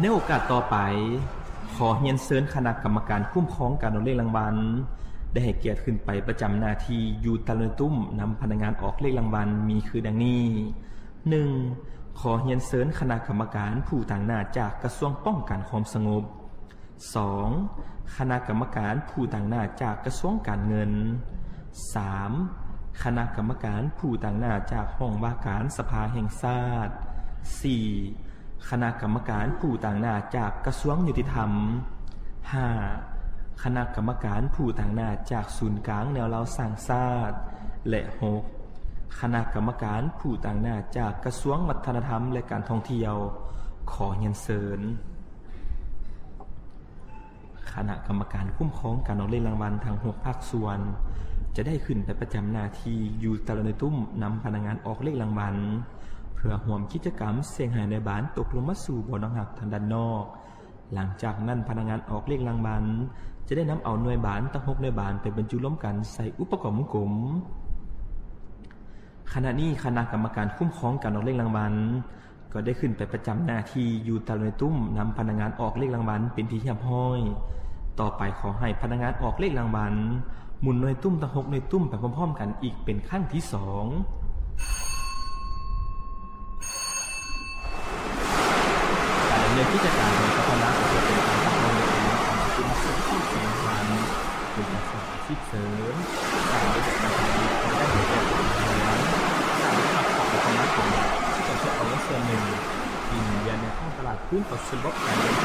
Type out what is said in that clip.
ໃນໂອກາດຕໍ່ໄປ, ຂໍຮຽນເຊີນຄະນະກຳມະການຄຸ້ມຄອງການອອກເລກລາງວັນ ໄດ້ໃຫ້ກຽດຂຶ້ນໄປປະຈຳໜ້າທີ່ຢູ່ຕາລາງໜ່ວຍຕຸ້ມນຳພະນັກງານອອກເລກລາງວັນ ມີຄືດັ່ງນີ້: ໜຶ່ງ ຂໍຮຽນເຊີນຄະນະກຳມະການຜູ້ຕາງໜ້າຈາກກະຊວງປ້ອງກັນຄວາມສະຫງົບ. ສອງ ຄະນະກຳມະການຜູ້ຕາງໜ້າຈາກກະຊວງການເງິນ. ສາມ ຄະນະກຳມະການຜູ້ຕາງໜ້າຈາກຫ້ອງວ່າການສະພາແຫ່ງຊາດ. ສີ່ ຄະນະກຳມະການຜູ້ຕາງໜ້າຈາກກະຊວງຍຸຕິທຳ. ຫ້າ ຄະນະກຳມະການຜູ້ຕາງໜ້າຈາກສູນກາງແນວລາວສ້າງຊາດ. ແລະ ຫົກ ຄະນະກຳມະການຜູ້ຕາງໜ້າຈາກກະຊວງວັດທະນະທຳ ແລະ ການທ່ອງທ່ຽວ. ຂໍຮຽນເຊີນ. ຄະນະກຳມະການຄຸ້ມຄອງການອອກເລກລາງວັນທັງຫົກພາກສ່ວນ ຈະໄດ້ຂຶ້ນໄປປະຈຳໜ້າທີ່ຢູ່ຕາລາງໜ່ວຍຕຸ້ມນຳພະນັກງານອອກເລກລາງວັນ ເພື່ອຮ່ວມກິດຈະກຳສ່ຽງໃຫ້ໜ່ວຍບານຕົກລົງມາສູ່ບໍ່ອນຮັບທາງດ້ານນອກ. ຫຼັງຈາກນັ້ນ, ພະນັກງານອອກເລກລາງວັນຈະໄດ້ນຳເອົາໜ່ວຍບານທັງຫົກໜ່ວຍບານໄປບັນຈຸລວມກັນໃສ່ອຸປະກອບວົງກົມ. ຂະນະນີ້, ຄະນະກຳມະການຄຸ້ມຄອງການອອກເລກລາງວັນ ກໍໄດ້ຂຶ້ນໄປປະຈຳໜ້າທີ່ຢູ່ຕາລາງໜ່ວຍຕຸ້ມນຳພະນັກງານອອກເລກລາງວັນເປັນທີ່ຮຽບຮ້ອຍ. ຕໍ່ໄປຂໍໃຫ້ພະນັກງານອອກເລກລາງວັນໝູນໜ່ວຍຕຸ້ມທັງຫົກໜ່ວຍຕຸ້ມໄປພ້ອມໆກັນອີກເປັນຄັ້ງທີສອງ. ການດຳເນີນກິດຈະການຂອງພະນັກງານກໍຈະເປັນການຮັບຮອງເດັກນ້ອຍຂອງກຸ່ມເສດຖະກິດແຫ່ງພັນ ເປັນການສ້າງອາຊີບເສີມ, ສ້າງລາຍໄດ້ໃຫ້ແກ່ຕົນເອງ, ສ້າງລາຍໄດ້ໃຫ້ກັບຄອບຄົວຂອງຕົນເອງ ທີ່ຈະເກັບເອົາເງິນສ່ວນໜຶ່ງທີ່ໝູນວຽນໃນທ້ອງຕະຫຼາດຄືນເຂົ້າສູ່ລະບົບການເງິນ